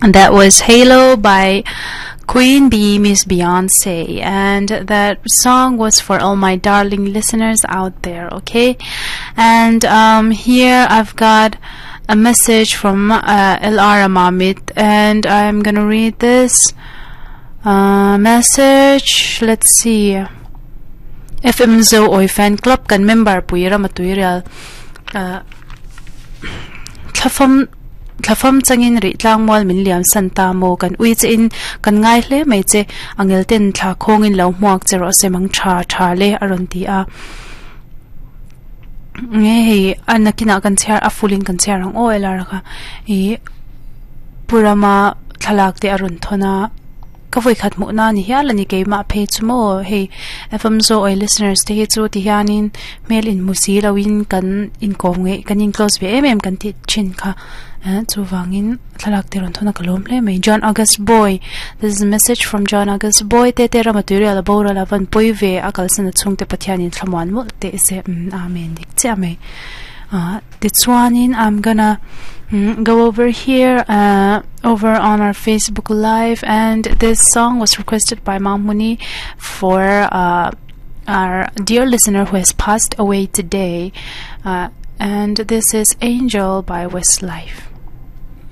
That was Halo by Queen Bee, Miss Beyonce. And that song was for all my darling listeners out there, okay? And um, here I've got a message from uh, LR Mamit, and I'm gonna read this uh, message. Let's see. FM Zo Oi Fan Club kan member pui ramatui real uh, thlafam thlafam changin ri tlangmual min liam san ta maw kan ui che in kan ngai hle mai che angel ten thla khawng in lo hmuak che rawh se mang tha tha le a rawn ti a nge hei a nakinah kan chhiar a full in kan chhiar ang aw lar kha ih purama thlalak te a rawn thawn a. Ka vawikhat hmuh na ni hial a ni keimah phei chu maw hei F_M Zo oi listeners te hi chu ti hianin hmel inhmu si loin kan inkawm ngeih kan in close ve em em kan tih thin kha eh chuvangin thlalak te rawn thawn a ka lawm hle mai John August Boy this is a message from John August Boy te te rama tuirial a boral a van pawi ve a kalsan a chhungte Pathianin thlamuan mawlh teh se umm amen dik chiah mai ah. Tichuanin I'm gonna mm, go over here uh, over on our Facebook Live, and this song was requested by Mamuni for uh, our dear listener who has passed away today. Uh, and this is Angel by Westlife.